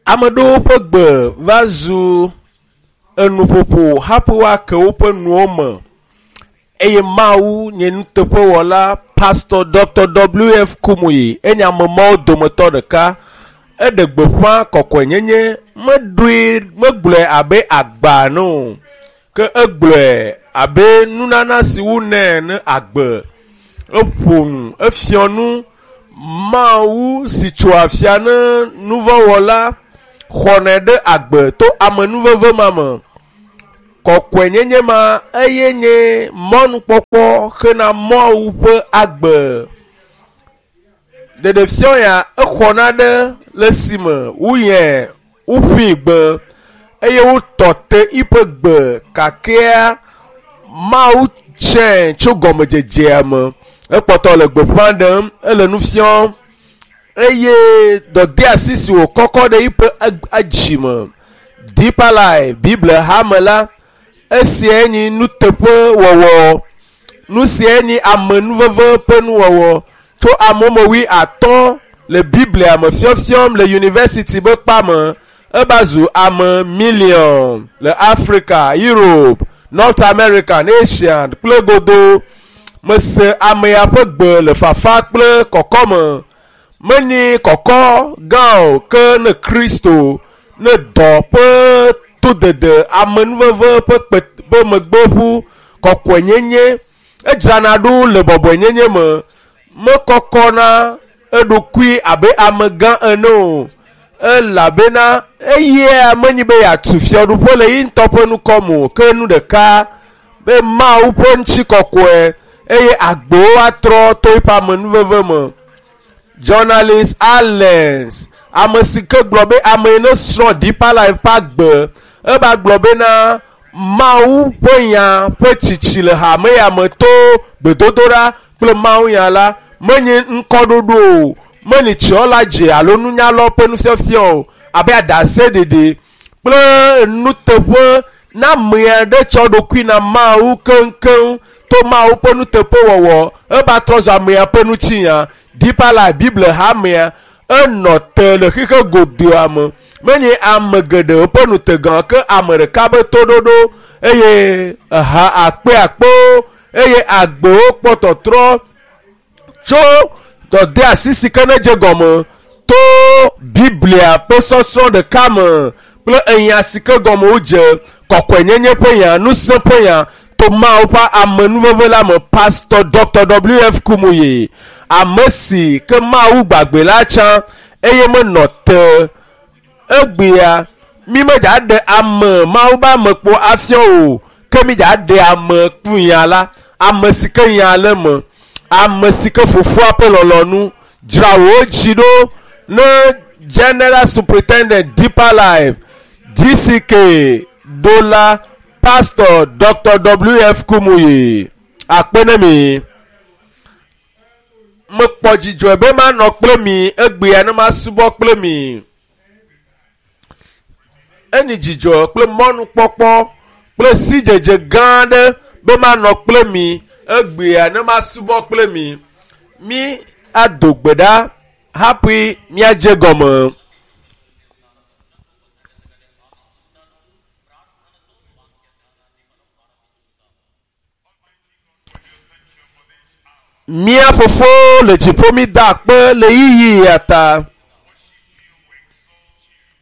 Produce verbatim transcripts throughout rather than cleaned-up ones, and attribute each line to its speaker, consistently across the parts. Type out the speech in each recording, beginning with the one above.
Speaker 1: Ame ɖewo ƒe gbe va zu enuƒoƒo hafi woake woƒe nuwo me eye Mawu nye nuteƒewɔla Pastor Dr. W F Kumuyi enye ame mawo dometɔ ɖeka. Eɖe gbeƒã kɔkɔenyenye meɖoe megblɔe abe agba ene o ke egblɔe abe nunana si wonɛ ne agbe. Eƒo nu efiɔ nu Mawu si tso afia ne nuvɔ̃wɔla xɔnɛ ɖe agbe to amenuveve ma me. Kɔkɔenyenye ma eye nye mɔnukpɔkpɔ hena Mawu ƒe agbe. Ɖeɖefiɔ ya exɔna ɖe le esime woyɛ woƒui gbe eye wotɔ te eƒe gbe kakea Mawu tsɛ tso gɔmedzedzea me. Ekpɔtɔ le gbeƒã ɖem, ele nu fiɔm eye dɔdeasi si wòkɔkɔ ɖe eƒe edzi me. Deeper Life Bible hame la, esiae nye nuteƒewɔwɔ. Nu siae nye amenuveve ƒe nuwɔwɔ tso amewo me atɔ̃ le Biblia me fiɔfiɔm le yunivɛsiti be kpa me. Eva zu ame miliɔn le Africa, Europe, North America, Asia kple godo. Mese ame ya ƒe gbe le fafa kple kɔkɔme. Menye kɔkɔ gã o ke ne Kristo ne dɔ ƒe todede amenuveve ƒe kpe ƒe megbeƒu kɔkɔenyenye edzrana ɖo le bɔbɔenyenye me mekɔkɔna eɖokui abe amegã ene o elabena eye menyi be yeatu fiaɖuƒe le ye ŋutɔ ƒe nukɔme o ke nu ɖeka be Mawu ƒe ŋutikɔkɔe eye agbewo atrɔ to eƒe amenuveve me. Journalist Allens, ame si ke gblɔ be ame yi ne srɔ̃ Deeper Life ƒe agbe, eva gblɔ bena Mawu ƒe nya ƒe tsitsi le hame ya me to gbedodoɖa kple Mawu nya la menye ŋkɔɖoɖo o, menye tsiɔla dze alo nunyalawo ƒe nufiafia o abe aɖaseɖeɖe kple nuteƒe na ame aɖe tsɔ ɖokui na Mawu keŋkeŋ to Mawu ƒe nuteƒewɔwɔ eva trɔ zu amea ƒe ŋutinya. Deeper Life Bible hamea enɔ te le xixe godoa me. Menye ame geɖewo ƒe nutegã ke ame ɖeka be toɖoɖo eye eha akpe akpewo eye agbewo kpɔ tɔtrɔ tso dɔdeasi si ke ne dze gɔme to Biblia ƒe sɔsrɔ̃ ɖeka me kple enya si ke gɔme wodze kɔkɔenyenye ƒe nya, ŋusẽ ƒe nya to Mawu ƒe amenuveve la me. Pastor Dr. W F Kumuyi, ame si ke Mawu gbagbe la tsã eye menɔ te egbea mi medza ɖe ame Mawu be ame kpo afiɔ o ke mi dza ɖe ame kpu nya la ame si ke nya le me ame si ke fofoa ƒe lɔlɔ̃nu dzra wò dzi ɖo ne General Superintendent Deeper Life D C K ɖola Pastor Dr. W F Kumuyi akpe ne mi. Mekpɔ dzidzɔe be manɔ kple mi egbea ne masubɔ kple mi. Enyi dzidzɔ kple mɔnukpɔkpɔ kple sidzedze gã aɖe be manɔ kple mi egbea ne masubɔ kple mi. Mi ado gbe ɖa hafi míadze gɔme. Mía fofo le dziƒo mi da akpe le yiyi ya ta.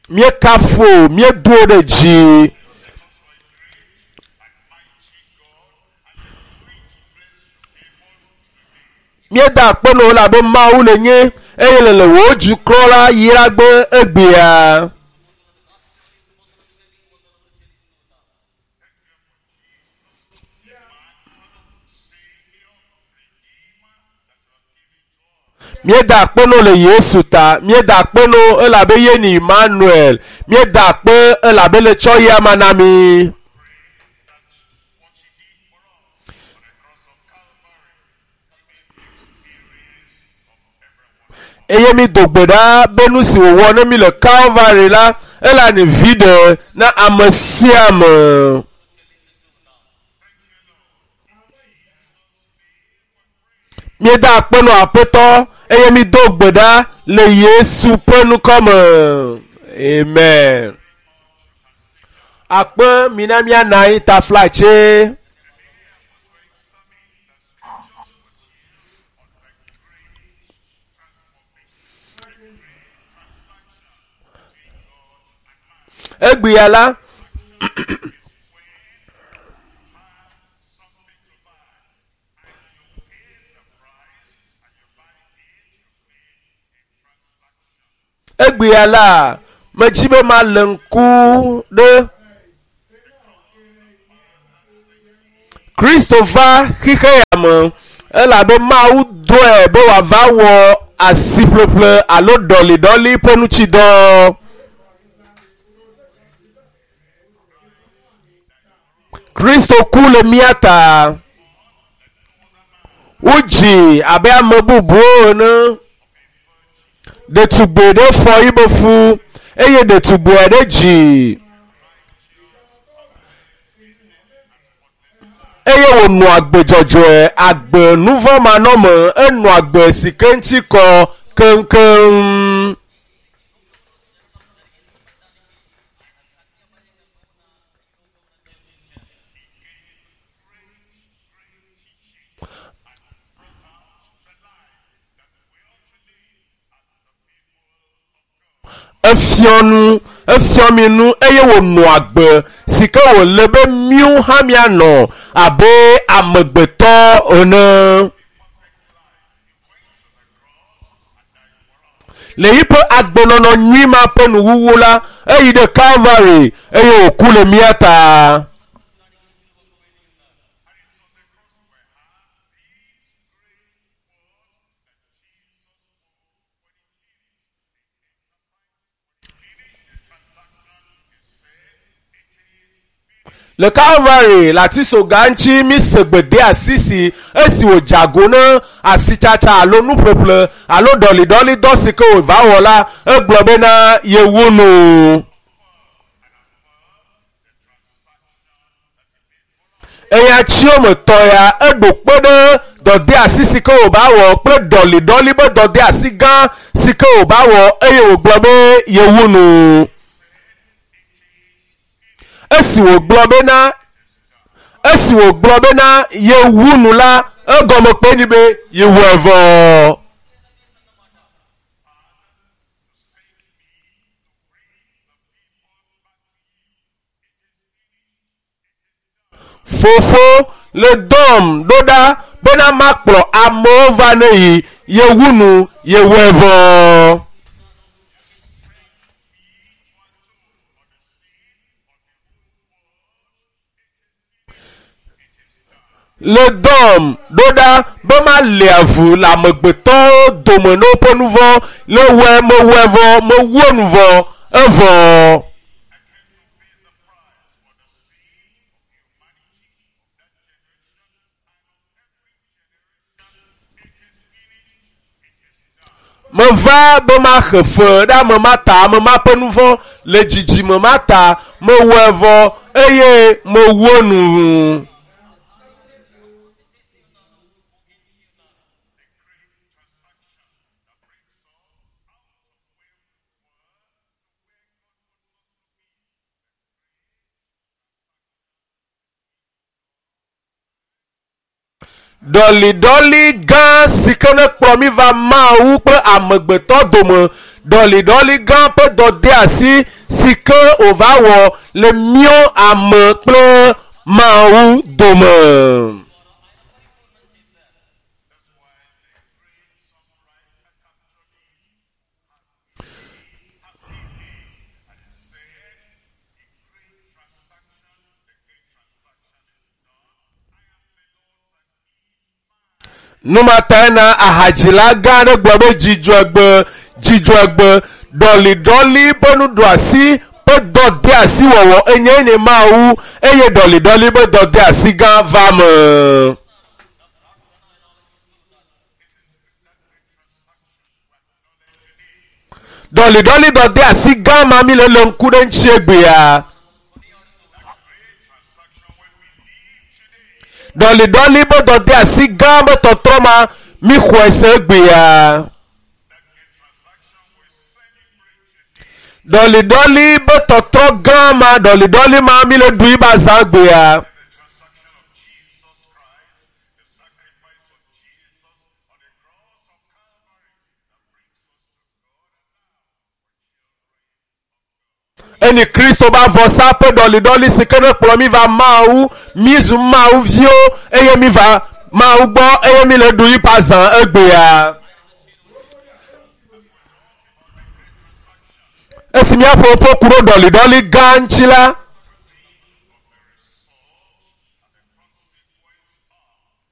Speaker 1: Míekafu, míedo ɖe dzi. Míeda akpe na wò elabe Mawu le nye eye le le wò dukɔ la yragbe egbea. Míeda akpe na wò le Yesu ta. Míeda akpe na wò elabe ye nye Emmanuel. Míeda akpe elabe le tsɔ ya ma na mi. Eye mi do gbe ɖa be nu si wòwɔ ne mi le Calvary la, ela nye viɖe na ame sia ame. Míeda akpe na Aƒetɔ eye mi do gbe ɖa le Yesu ƒe ŋkɔ me. Amen. Akpe mina miana anyi taflatse. Egbea la egbea la medzi be malé ŋku ɖe Kristo va xixe ya me elabe Mawu dɔe be wòava wɔ asiƒleƒle alo ɖɔliɖɔli ƒe ŋutidɔ. Kristo ku le mía ta. Wodzi abe ame bubuwo ene. Ɖetugbi ɖe fɔ yibe fu eye ɖetugbi aɖe dzi eye wònɔ agbe dzɔdzɔe agbe nuvɔ̃manɔme enɔ agbe si ke ŋuti kɔ keŋkeŋ. Efiɔ nu efiɔ mi nu eye wònɔ agbe si ke wòle be míwo hã míanɔ abe amegbetɔ ene. Le yiƒe agbenɔnɔ nyui ma ƒe nuwuwu la, eyi ɖe Calvary eye wòku le mía ta. Le Calvary le atisoga ŋuti mise gbedeasi si esi wòdze ago ne asitsatsa alo nuƒleƒle alo ɖɔliɖɔlidɔ si ke wòva wɔ la egblɔ bena yewu nu. Eya tsiwo me tɔ ya eɖo kpe ɖe dɔdeasi si ke wòva wɔ kple ɖɔliɖɔli be dɔdeasi gã si ke wòva wɔ eye wògblɔ be yewu nu. Esi wògblɔ bena esi wògblɔ bena yewu nu la egɔme kpe ni be yewu evɔ. Fofo le dɔm ɖo ɖa bena makplɔ amewo va ne yi yewu nu yewu evɔ. Le dɔm ɖo ɖa be mali avu le amegbetɔwo dome ne woƒe nu vɔ̃ le wɔe mewɔe vɔ mewu enu vɔ evɔ. Meva be maxe fe ɖe ame ma ta ame ma ƒe nu vɔ̃ le dzidzime ma ta mewɔe vɔ eye mewu enu. Ɖɔliɖɔli gã si ke ne kplɔ mí va Mawu kple amegbetɔ dome ɖɔliɖɔli gã ƒe dɔdeasi si ke wòva wɔ le míwo ame kple Mawu dome. Numatae na ahadzila gã aɖe gblɔ be dzidzɔgbe dzidzɔgbe ɖɔliɖɔli ƒe nuɖoasi ƒe dɔdeasi wɔwɔ enye nye Mawu eye ɖɔliɖɔli ƒe dɔdeasi gã va me. Ɖɔliɖɔli dɔdeasi gã ma mi le le ŋku ɖe ŋuti egbea. Ɖɔliɖɔli be dɔdeasi gã be tɔtrɔ ma mi xɔe se egbea. Ɖɔliɖɔli be tɔtrɔ gã ma ɖɔliɖɔli ma mi le ɖu yi ba zã gbea. Eni Kristo ba vɔsa ƒe ɖɔliɖɔli si ke ne kplɔ mi va Mawu, mi zu Mawu viwo eye mi va Mawu gbɔ eye mi le ɖu yi ƒe azã egbea. Esi míaƒo ƒo ku ɖo ɖɔliɖɔli gã ŋuti la,